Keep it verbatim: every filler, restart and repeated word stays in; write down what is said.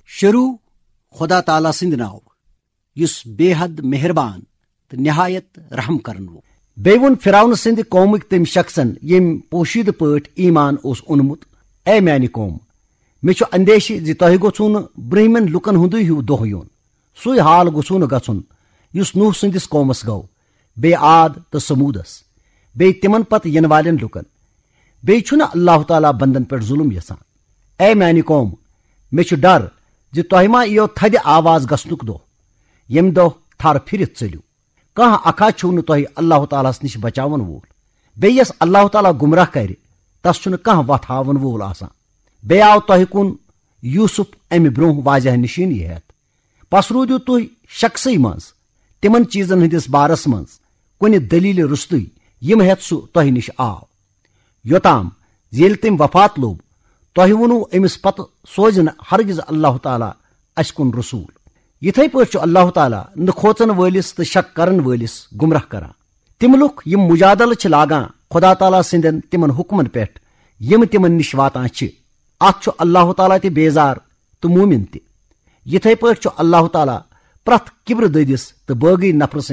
شروع خدا تعالیٰ سٕنٛدِ ناوٕ، یُس بے حد مہربان تہٕ نہایت رحم کرن وول۔ بیٚیہِ ووٚن فرعون سٕنٛدِ قومٕکۍ تٔمۍ شخصن، ییٚمۍ پوشیدٕ پٲٹھۍ ایمان اوس اوٚنمُت، "اے میانہِ قوم، مےٚ چھُ اندیشہِ زِ تۄہہِ گوٚژھوٕ نہٕ برٛونٛہمٮ۪ن لوٗکن ہُنٛدُے ہیوٗ دۄہ یُن، سُے حال گوٚژھوٕ نہٕ گژھُن، یُس نوح سٕنٛدِس قومس گوٚو، بیٚیہِ عاد تہٕ ثمودس، بیٚیہِ تِمن پتہٕ یِنہٕ والٮ۪ن لوٗکن۔ بیٚیہِ چھُنہٕ اللہ تعالیٰ بندن پٮ۪ٹھ ظلم یژھان۔ اے میانہِ قوم، مےٚ چھُ ڈر زِ تۄہہِ ما یِیو تھدِ آواز گژھنُک دۄہ، ییٚمہِ دۄہ تھر پھِرِتھ ژٔلِو۔ کانٛہہ اکھا چھُو نہٕ تۄہہِ اللہ تعالیٰ ہس نِش بچاون وول۔ بیٚیہِ یس اللہ تعالیٰ گمراہ کرِ، تس چھُنہٕ کانٛہہ وتھ ہاون وول آسان۔ بیٚیہِ آو تۄہہِ کُن یوسف امہِ برٛونٛہہ واضح نشٲنی ہٮ۪تھ۔ پس روٗدِو تُہۍ شکسٕے منٛز تِمن چیٖزن ہٕنٛدِس بارس منٛز کُنہِ دٔلیٖلہِ روٚستُے، یِم ہٮ۪تھ سُہ تۄہہِ نِش آو، یوٚتام زِ ییٚلہِ تٔمۍ وفات لوٚب، تۄہہِ ووٚنوٕ أمِس پتہٕ سوزِ نہٕ ہرگز اللہ تعالیٰ اسہِ کُن رسول۔ یِتھے پٲٹھۍ چھُ اللہ تعالیٰ نہٕ کھوژن وٲلِس تہٕ شک کرن وٲلِس گمراہ کران۔ تِم لُکھ یِم مجادلہٕ چھِ لاگان خدا تعالیٰ سٕنٛدٮ۪ن تِمن حُکمن پٮ۪ٹھ، یِم تِمن نِش واتان چھِ، اتھ چھُ اللہ تعالیٰ تہِ بیزار تہٕ مومن تہِ۔ یِتھے پٲٹھۍ چھُ اللہ تعالیٰ پرٛٮ۪تھ کِبرٕ دٔدِس تہٕ بٲغی نفرٕ سٕنٛدِ